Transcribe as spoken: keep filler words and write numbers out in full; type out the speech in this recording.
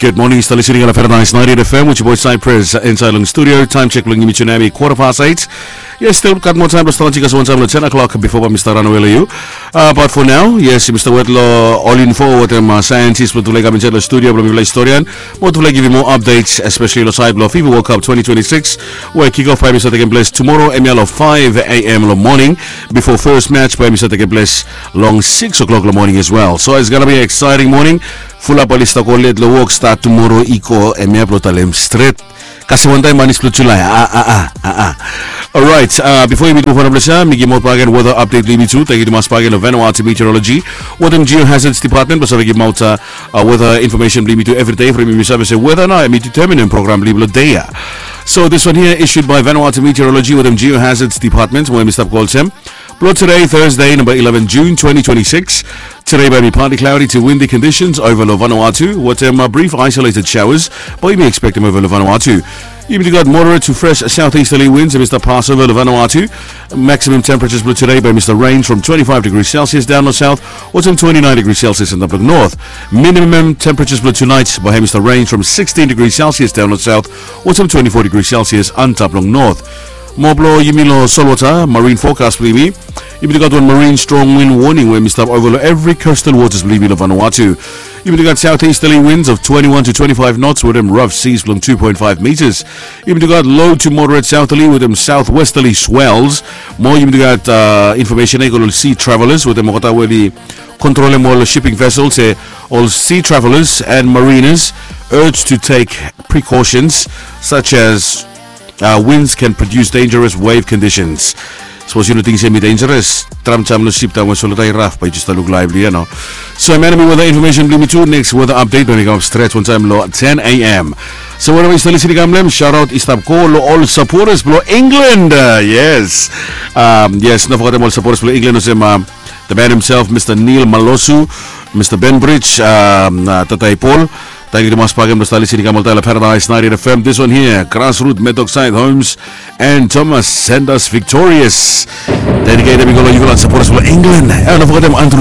Good morning, stap listening on Paradise ninety-eight F M with your boy Cypress inside long studio. Time check long yumi tonight, quarter past eight. Yes, still gat moa taem blong stap, gat wan taem long ten o'clock bifo bae mi stap ranawe long yu. Uh, but for now, yes, yumi stap wet long ol info wetem uh, scientist blong tufala i kam insaed long studio blong mifala historian. Mo tufala i givim moa updates, especially long saed blong FIFA World Cup twenty twenty-six, we kick off bae mi stap tekem ples tomorrow, hemia long five a.m. long morning, bifo first match bae mi stap tekem ples long six o'clock long morning as well. So it's gonna be an exciting morning. Fulap oli stap go let long wok stap tumoro i go, hemia blong talem stret. Kasem wantaem manis blong Julai. A a a a a. Alright, uh, bifo yumi muv on blong ya, mi givim ol bakegen weather update blong yumi tu. Tangkiu tumas bakegen long Vanuatu Meteorology wetem Geohazards Department blong save givimaot uh, weather information blong yumi tu evri dei from yumi save se weather nao hemi determinem program blong yumi long dei ya. So this one here issued by Vanuatu Meteorology wetem Geohazards Department, we mi stap go olsem. Blong today, Thursday, number eleven June twenty twenty-six. Today bae mi partly cloudy to windy conditions over long Vanuatu wetem uh, brief isolated showers bae yumi expectem over long Vanuatu. Yumi tu gat moderate to fresh southeasterly winds hemi stap pas over long Vanuatu. Maximum temperatures blong today bae mi stap range from twenty-five degrees Celsius down long south wetem twenty-nine degrees Celsius antap long north. Minimum temperatures blong tonight bae hemi stap range from sixteen degrees Celsius down long south wetem twenty-four degrees Celsius antap long north. Mo blong yumi long solwota, marine forecast blong yumi. Yumi tu gat wan marine strong wind warning we hemi stap over long evri coastal waters blong yumi long Vanuatu. Yumi tu gat southeasterly winds of twenty-one to twenty-five knots wetem rough seas blong two point five meters. Yumi tu gat low to moderate southerly wetem southwesterly swells. Mo yumi tu gat uh, information ia i go long sea travelers wetem olgeta we oli kontrolem ol shipping vessels, se ol sea travelers and mariners urged to take precautions such as uh, winds can produce dangerous wave conditions. Sapos yu no ting se hemi dangerous, tram jam long sip taem we solwota i raf, bae yu jes stap luk laevli ia nao. So hemia nao hemi weather information blong yumi tu. Next weather update bae mi kamap stret wantaem long ten a.m. So wherever yu stap listening i kam long hem, shout out i stap go long ol supporters blong England. Uh, yes. Um, yes, no fogetem ol supporters blong England olsem uh, the man himself, Mr Neil Malosu, Mr Benbridge, um, uh, Tatai Paul. Tangkiu tumas bakegen blong stap listening i kam oltaem long Paradise ninety-eight F M. This one here, Grassroot, Medokside Homes and Thomas, send us victorious. Dedicated i go long yufala supporters blong England. Eh, no fogetem Andrew